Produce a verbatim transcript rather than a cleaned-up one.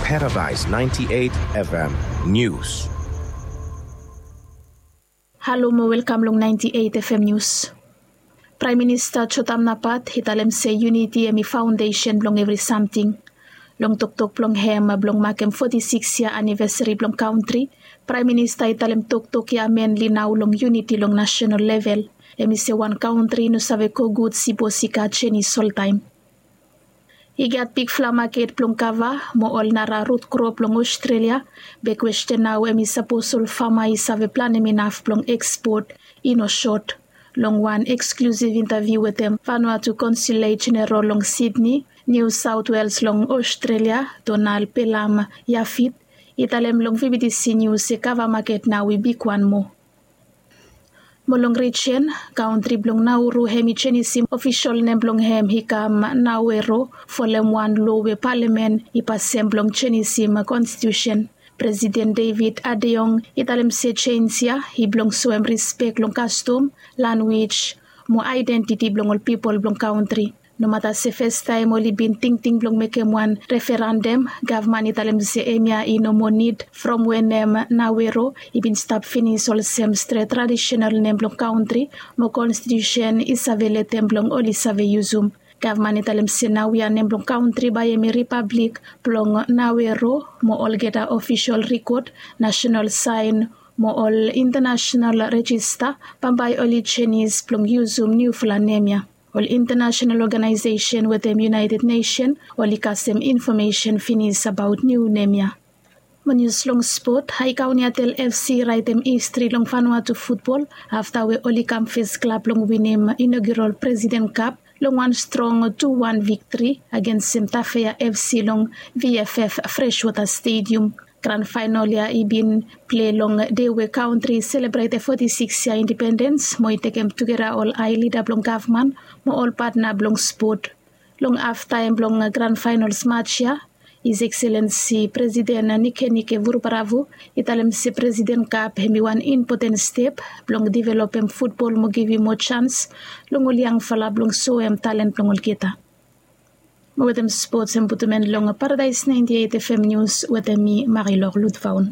Paradise ninety-eight F M News. Halo mo welkam long ninety-eight F M News. Praem Minista Jotam Napat i talem se yuniti hemi faondesen blong evri samting. Long toktok blong hem blong makem foti sikis yia anivesari blong kantri, Praem Minista i talem toktok ya menli nao long yuniti long nasenal level. Hemi se wan kantri i no save go gud sipos i gat jenis oltaem. I gat bigfala maket blong kava mo ol nara rut krop long Australia. Be kwesten nao hemi sapos ol fama i save planem inaf blong ekspot i no sot. Long wan eksklusiv intaviu wetem Vanuatu Konsulet Jeneral long Sydney, New South Wales long Australia, Donald Pelam Yafit i talem long VBTC News se kava maket nao i bigwan moa. Mo long rijen, kantri blong Nauru hemi jenisim ofisol nem blong hem i kam Nawero folem wan loa we palamen i pasem blong jenisim konstitusen. Presiden David Adeong i talem se jens ya i blong soem rispek long kastom, lanwis mo aedentiti blong ol pipol blong kantri. Nomata se fastaem oli bin tingting blong mekem wan referandam, gavman i talem se hemia i no moa nid from wenem Nawero i bin stap finis olsem stret tradisenal nem blong kantri mo konstitusen i save letem blong oli save yusum. Gavman i talem se naoia nem blong kantri bae hemi Ripablik blong Nawero mo olgeta ofisol rikod, nasenal saen mo ol intanasenal rejista bambae oli jenis blong yusum niufala nem ya. Ol intanasenal oganaesesen wetem United Nesen oli kasem infomesen finis abaot niu nem ya. Mo nius long spot, Hae Kauniatel FC i raetem histri long Vanuatu futbol afta we oli kam fes klab blong winim inogiral Presiden Kap long wan strong tu wan viktri agensem Tafea FC long VFF Freshwater Stadium. Gran faenol ya i bin plei long dei we kantri i selebretem foti sikis yia indipendens mo i tekem tugeta ol hae lida blong gavman mo ol patna blong spot. Long haftaem blong gran faenols maj ya, His Excellency Presiden Nikenike Vurubaravu i talem se Presiden Kap hemi wan impoten step blong developem futbol mo givim moa jans long ol yangfala blong soem talen blong olgeta. Mo wetem spots hem putum en long Paradaes naenti eit FM Nius wetem mi Marilor Ludvaon.